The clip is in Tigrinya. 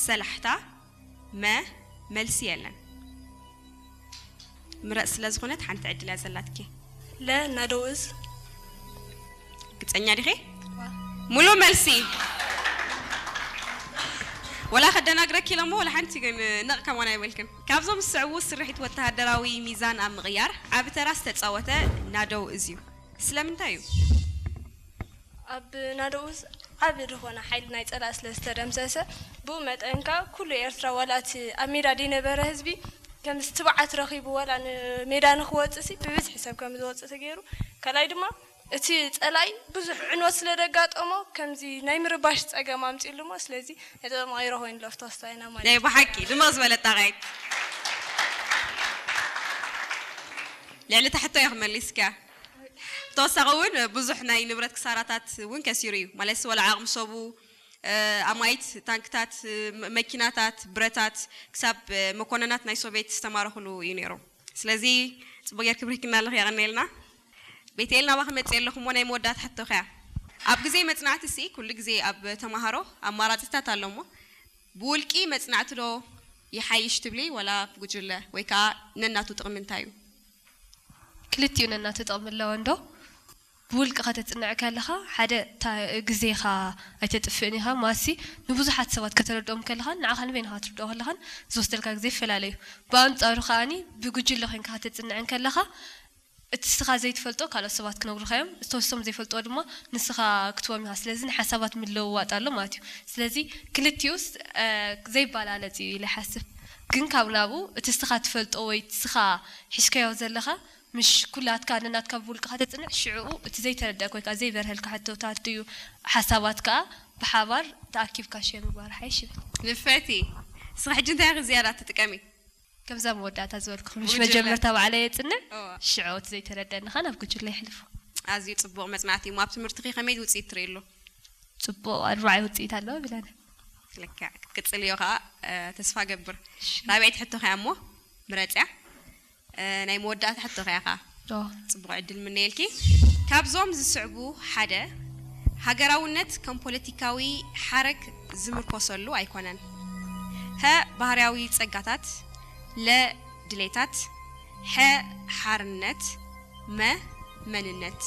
ሰላሕታ፣ መ፣ መልሲ የለን። ምረጽ ስለ ዝኾነት ሓንቲ ዕድል እያ ዘላትኪ። ለ፣ ናደው እዝ። ግጸኛ ዲኺ? ሙሉእ መልሲ። ወላ ከደናግረኪ ኢለ እሞ ወላ ሓንቲ ግን ነቕ ከማን ኣይበልክን። ካብዞም ዝስዕቡ ስርሒት ወተሃደራዊ ሚዛን ኣብ ምቕያር ዓቢ ተራ ዝተጻወተ ናደው እዝ እዩ። ስለምንታይ እዩ? ኣብ ናደው እዝ ዓቢ ዝኾነ ሓይሊ ናይ ጸላእ ስለ ዝተደምሰሰ፣ ብኡ መጠን ከኣ ኩሉ ኤርትራ ዋላ እቲ ኣብ ሜዳ ዘይነበረ ህዝቢ ከምዚ ትብዓት ረኺቡ ዋላ ንሜዳ ንኽወጽእ ሲ ብብዝሒ ሰብ ከም ዝወጽእ ተገይሩ። ካልኣይ ድማ እቲ ጸላኢ ብዙሕ ዕንወት ስለ ደጋጠሞ ከምዚ ናይ ምርባሽ ጸገም ኣምጺሉ እሞ ስለዚ ነቲ ተማሂሮ ኮይኑ ኣሎ ተወስታ ኢና ማለት ናይ ብሓቂ ድምቕ ዝበለ ጣቓይት። ልዕሊ ታሕቶ እያ ክመሊስካ። ብተወሳኺ እውን ብዙሕ ናይ ንብረት ክሳራታት እውን ከሲሩ እዩ። ማለት ወላ ዓቕሚ ሰቡ፣ እ፣ ኣማይት፣ ታንክታት፣ እ፣ መ-፣ መኪናታት፣ ብረታት፣ ክሳብ፣ እ፣ መኮነናት ናይ ሶቪየት ዝተማረኹሉ እዩ ነይሩ። ስለዚ ጽቡቅ ጌርኪ ብሪክና ኣለኺ፣ የቐንየልና። ቤቴል፣ ናባኺ መጽእ ኣለኹ እሞ ናይ መወዳእታ ሕቶኺ እያ። ኣብ ግዜ መጽናዕቲ ሲ ኩሉ ግዜ ኣብ ተማሃሮ ኣማራጺታት ኣሎ እሞ ብውልቂ መጽናዕቲ ዶ ይሓይሽ ትብሊ ወላ ብጉጅለ ወይ ከኣ ነናቱ ጥቕሚ እንታይ እዩ? ክልቲኡ ነናቱ ጥቕሚ ኣለዎ እንዶ። ብውልቂ ከተጽንዕ ከለኻ ሓደ እታ ግዜኻ ኣይተጥፍእን ኢኻ። ማሲ ንብዙሓት ሰባት ከተረድኦም ከለኻን ንዓኻ ንበይንኻ ክትርድኦ ከለኻን ዝወስደልካ ግዜ ይፈላለ እዩ። ብኣንጻሩ ከኣኒ ብጉጅለ ኮይንካ ከተጽንዕን ከለኻ እቲ ንስኻ ዘይትፈልጦ ካልኦት ሰባት ክነግሩኻ እዮም። እቶም ዘይፈልጥዎ ድማ ንስኻ ክትቦም ኢኻ። ስለዚ ንሓሳባት ምልውዋጥ ኣሎ ማለት እዩ። ስለዚ ክልቲኡስ ዘይባላለጽ እዩ ኢለ ይሓስብ። ግን ካብ ናብኡ እቲ ንስኻ ትፈልጦ ወይ ንስኻ ሒዝካዮ ዘለኻ ምሽ ኩላትካ ነናትካ ብውልቅኻ ተጽንዕ፣ ሽዕኡ እቲ ዘይተረደእካ ወይ ከዓ ዘይበርሀልካ ሕቶታት ድዩ ሓሳባት ከዓ ብሓባር ተኣኪብካ ሼር ምግባር ሓይሽ ይብል። ንፈቲ እስኺ ሕጂ እንታይ ኢኺ ዝያዳ ትጥቀሚ? ከምዛ መወዳእታ ዝበልኩ ምሽ ጉጅለ። መጀመርታ ባዕለ የጽንዕ፣ እዋ። ሽዕኡ እቲ ዘይተረደእኒ ከዓ ናብ ጉጅለ የሕልፎ። ኣዝዩ ጽቡቕ መጽናዕቲ እሞ ኣብ ትምህርትኺ ከመይ ውጽኢት ትርኢ ኣሎ? ጽቡቕ ኣርባዕይ ውጽኢት ኣለዎ ብለና። ልክዕ ክትቅጽልዮ ከዓ እ፣ ተስፋ ገብር። ራብዐይቲ ሕቶ ከያ እሞ ምረጽያ። እ፣ ናይ መወዳእታ ሕቶ ከያ ከዓ ዶ ጽቡቕ ዕድል ምነየልኪ። ካብዞም ዝስዕቡ ሓደ ሃገራውነት ከም ፖለቲካዊ ሓረግ ዝምርኮሰሉ ኣይኮነን። ሀ ባህርያዊ ጸጋታት፣ ለ ድሌታት፣ ሐ ሓርነት፣ መ መንነት።